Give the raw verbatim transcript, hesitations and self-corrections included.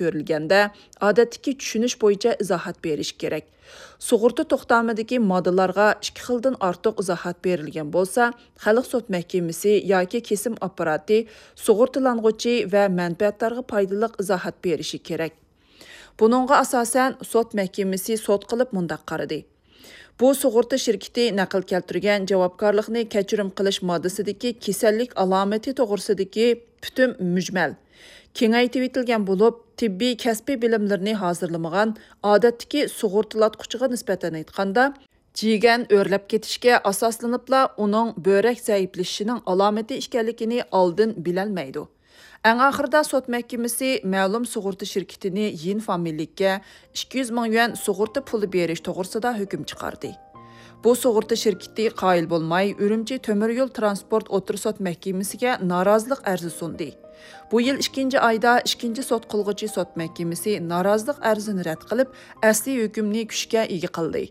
كۆرۈلگەندە، ئادەتتىكى چۈشىنىش بويىچە ئىزاھات بېرىشى كېرەك. سۇغۇرتا توختامىدىكى ماددىلارغا ئىككى خىلدىن ئارتۇق ئىزاھات بېرىلگەن بولسا، خەلق سوت مەھكىمىسى ياكى كېسىم ئاپپاراتى سۇغۇرتىلانغۇچى ۋە مەنپەئەتدارغا پايدىلىق ئىزاھات بېرىشى كېرەك. بۇنىڭغا ئاساسەن، سوت مەھكىمىسى سوت قىلىپ مۇنداق قارىدى. بۇ سۇغۇرتا شىركىتى نەقىل كەلتۈرگەن جاۋابكارلىقنى كەچۈرۈم قىلىش ماددىسىدىكى كېسەللىك ئالامىتى توغرىسىدىكى پۈتۈن مۈجمەل، كېڭەيتىۋېتىلگەن بولۇپ، تېببىي كەسپىي بىلىملىرىنى ھازىرلىمىغان ئادەتتىكى سۇغۇرتىلاتقۇچىغا نىسبەتەن ئېيتقاندا، جىگەن ئۆرلەپ كېتىشكە ئاساسلىنىپلا ئۇنىڭ بۆرەك زەئىپلىشىشىنىڭ ئالامىتى ئىكەنلىكىنى ئالدىن بىلەلمەيدۇ. ئەڭ ئاخىرىدا سوت مەھكىمىسى مەلۇم سۇغۇرتا شىركىتىنى يىن فامىلىلىككە ئىككى يۈز مىڭ يۈەن سۇغۇرتا پۇلى بېرىش توغرىسىدا ھۆكۈم چىقاردى. بۇ سۇغۇرتا شىركىتى قايىل بولماي، ئۈرۈمچى تۆمۈر يول ترانسپورت ئوتتۇرا سوت مەھكىمىسىگە نارازىلىق ئەرزى سۇندى. بۇ يىل ئىككىنچى ئايدا ئىككىنچى سوت قىلغۇچى سوت مەھكىمىسى نارازىلىق ئەرزىنى رەت قىلىپ، ئەسلىي ھۆكۈمنى كۈچكە ئىگە قىلدى.